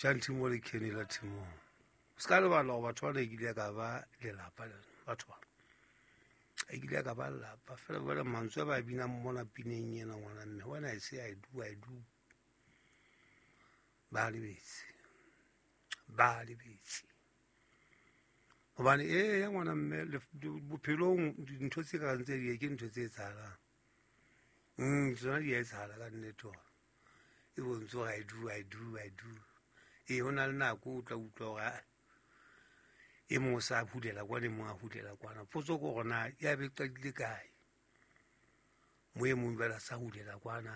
Shanti mo le Kenny la Timong. Se ka lebala gore batho bana e kile ka ba lelapa le batho ba. E kile ka ba lelapa fela jwale mantswe a ba binang mona pineng ena ngwana mme when I say I do, I do. Ba lebetse. Ba lebetse. Hobane ee ya ngwana mme bophelong dintho tse kareng tse di ke ntho tse etsahalang. Tsona di a etsahala ka nnete hore e bontshe hore I do, I do, I do. Ee, ho na le nako o tla utlwa hore e mong o sa hulela kwana, e mong a hulela kwana. Potso ke hore na ya be qadile kae? Mo e mong jwale a sa hulela kwana,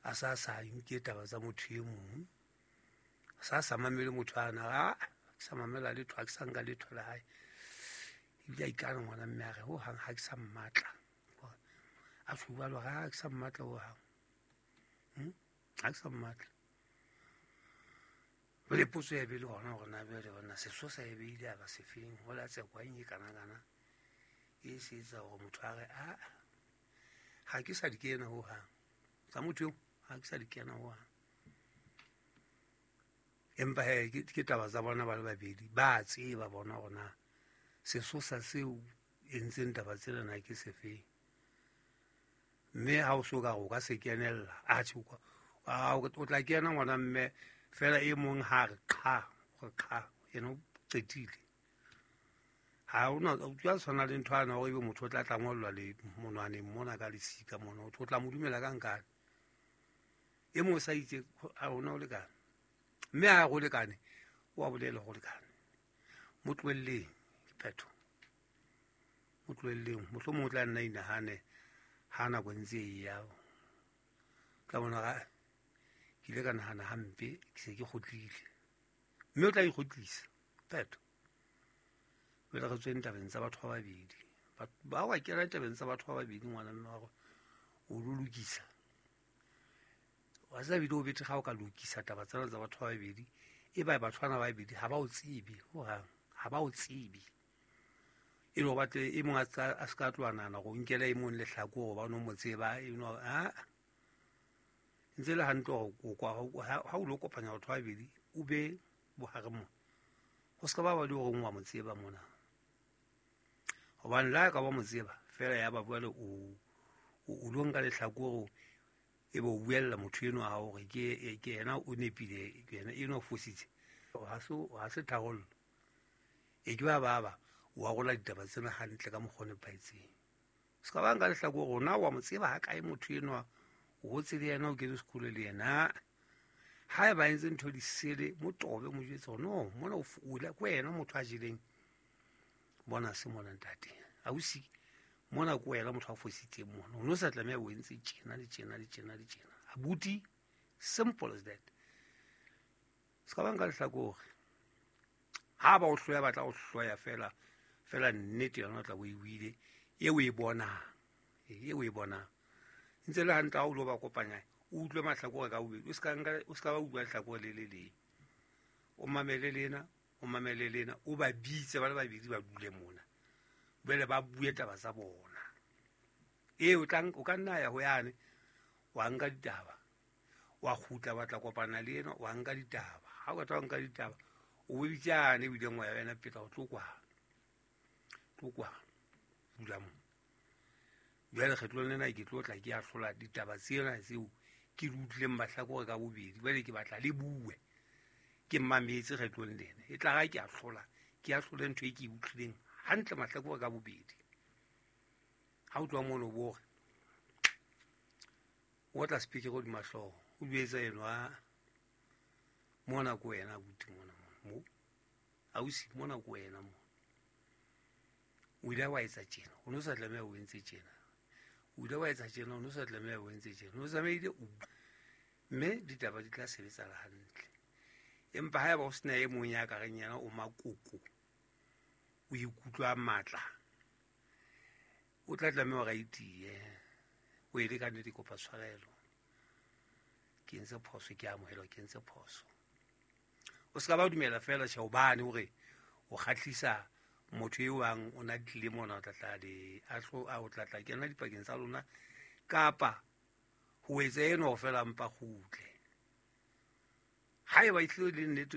a sa sa nke taba tsa motho e mong. A sa sa mamele motho ana, a ke sa mamela letho, ha ke sa nka letho la hae. Ebile a ikana ngwana mme a re hohang ha ke sa mmatla. A tjho jwalo, ha ke sa mmatla hohang. Ha ke sa mmatla. Jwale potso ya be le hona hore na jwale bona sesosa e be ile a ba sefeng, ho la tsekwa eng e kana-kana e se etsa hore motho a re a ha ke sa di kena hohang. Tsa motho eo ha ke sa di kena hohang. Empa he ke taba tsa bona ba le babedi, ba tseba bona hore na sesosa seo entseng taba tsena na ke sefeng. Mme ha o so ka re o ka se kenella, atjhe o tla kena ngwana mme fela e mong ha re qha, re qha, yena o qetile. Ha ona o tla tshwana le ntho ana hore ebe motho o tla tla ngollwa le monwaneng mona ka lesika mona, o tla mo dumela ka nkane. E mong o sa itse ha ona o lekane. Mme ha go lekane, o a bolela go lekane. Mo tlohelleng, ke phetho. Mo tlohelleng, mohlomong o tla nna inahane ha nako ntse e ya. Tla bona ga ke ile ka nahana hampe, ke se ke kgotlile. Mme o tla ikgotlisa, phetho. Jwale re tsweng tabeng tsa batho ba babedi. Ba wa kena tabeng tsa batho ba babedi ngwana mme wa o lo lokisa. Wa tseba ebile o bethe ga o ka lokisa taba tsena tsa batho ba babedi, e ba batho bana ba babedi ha ba o tsebe hohang, ha ba o tsebe. E le hore batle e mong a se ka tloha nahana hore o nkela e mong lehlakore hobane o mo tseba, e no, ha. Ntse le hantle hore o kwa, ha o lo kopanya batho ba babedi, o be bohareng mona. Ho se ka ba ba le hore wa mo tseba mona. Hobane le ha ka ba mo tseba, fela ya ba jwale o lo nka lehlakore, e be o buella motho enwa wa hao hore ke yena o nepile, ke yena enwa o fositse. Ha se tharollo. E ke ba ba ba, o arola ditaba tsena hantle ka mokgwa o nepahetseng. Se ka ba nka lehlakore hore na wa mo tseba ha kae motho enwa, o hotse le yena, o kene sekolo le yena. Ha eba entse ntho di sele, mo tobe, mo jwetse hore no, mona o o ke wena motho a jeleng. Bona se mona ntate. Ausi, mona ke wena motho a fositseng mona. O no sa tlameha o entse tjena le tjena le tjena le tjena. Abuti, simple as that. Se ka ba nka lehlakore. Ha ba o hloya, ba tla o hloya fela, fela nnete yona o tla bo e buile, e o e bonang, e o e bonang. Ntse le hantle ha o lo ba kopanya, o utlwe mahlakore ka bobedi, o se ka nka, o se ka ba utlwa lehlakore le le leng. O mamele lena, o mamele lena, o ba bitse ba le babedi ba dule mona. Jwale ba bue taba tsa bona. Ee, o tla o ka nna ya ho yane, wa nka ditaba, wa kgutla wa tla kopana le ena, wa nka ditaba. Ha o qeta ho nka ditaba, o bo bitse yane o ileng wa ya wena pele, o tlo kwana. Tlo kwana. Dula moo. Jwale kgetlong lena ke tlo tla ke ahlola ditaba tsena tseo ke di utlwileng mahlakore ka bobedi. Jwale ke batla le bue. Ke mmametse kgetlong lena. E tla ra ke ahlola, ke ahlole ntho e ke e utlwileng hantle mahlakore ka bobedi. Ha o tloha mono bo re, o tla speaker hodima hlooho, o jwetsa enwa, mona ke wena abuti mona mona, mo. Ausi, mona ke wena mona. O ile wa etsa tjena, o no sa tlameha o entse tjena. O ile wa etsa tjena, o no sa tlameha o entse tjena. O tsamaile o mme ditaba di tla sebetsala hantle. Empa haeba o sena e mong ya ka reng yena o makoko, o ikutlwa matla, o tla tlameha hore a itiye. O e le ka nnete, kopa tshwarelo. Ke entse phoso, ke amohela ke entse phoso. O se ka ba dumela fela tjhe hobane hore o kgahlisa motho eo bang o na tlile mona, o tla tla le ahlo, a o tla tla kena dipakeng tsa lona, kapa ho etsa eno fela mpa kgutle. Haeba e tlile le nnete